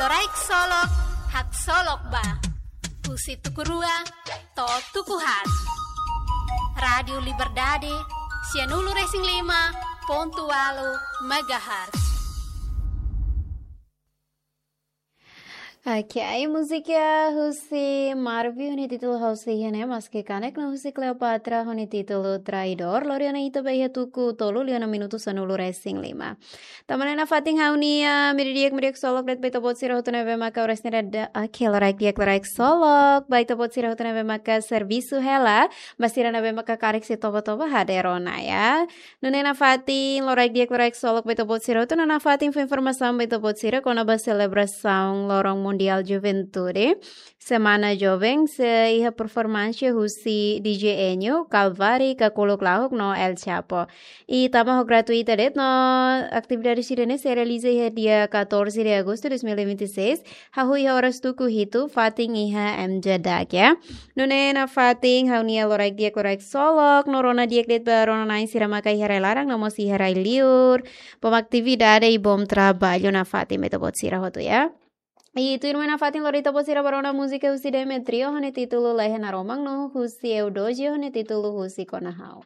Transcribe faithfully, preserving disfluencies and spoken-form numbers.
Loraik Solok, haksolok ba. Husi tuku rua to'o tuku haat. Rádiu Liberdade, sianulu-resin-lima pontu ualu megahertz. Oke, ai múzika husi Marvio ho nia títulu Ha'u Sei Iha Ne'e, maske kanek no husi Cleopatra ho nia títulu Traidór, lori ona ita ba iha tuku tolu liu ona minutu sanulu-resin-lima. Tama ona iha fatin ha'u-nia, ah, meiudia, meiudia solok de'it ba ita-boot sira hotu ne'ebé maka oras ne'e daudaun, oke, loraik di'ak, loraik solok ba ita-boot sira hotu ne'ebé maka servisu hela, ba sira ne'ebé maka karik sei toba-toba hadeer ona, ya. Nune'e nafatin, loraik di'ak, loraik solok ba ita-boot sira hotu, no nafatin fó informasaun ba ita-boot sira kona-ba selebrasaun Loron Mundiál Juventude, Semana Joven, sei iha performánsia husi D J Enio, Calvary, Kakuluk Lahuk no El Chapo. I tama ho gratuita de'it no atividade sira-ne'e sei realiza iha dia catorze de agosto de dois mil e vinte e seis, hahú iha oras tuku hitu, fatin iha M J Dak, ya. Nune'e nafatin ha'u-nia loraik di'ak, loraik solok, no rona di'ak de'it ba rona-na'in sira maka iha rai laran no mós iha rai liur. Bom atividade i bom trabalho nafatin ba ita-boot sira hotu, ya. I tuirmai nafatin lori ita-boot sira ba rona múzika husi Demetrio ho nia títulu Lehen Naroman no husi Eudoxia ho nia títulu Husik Ona Ha'u.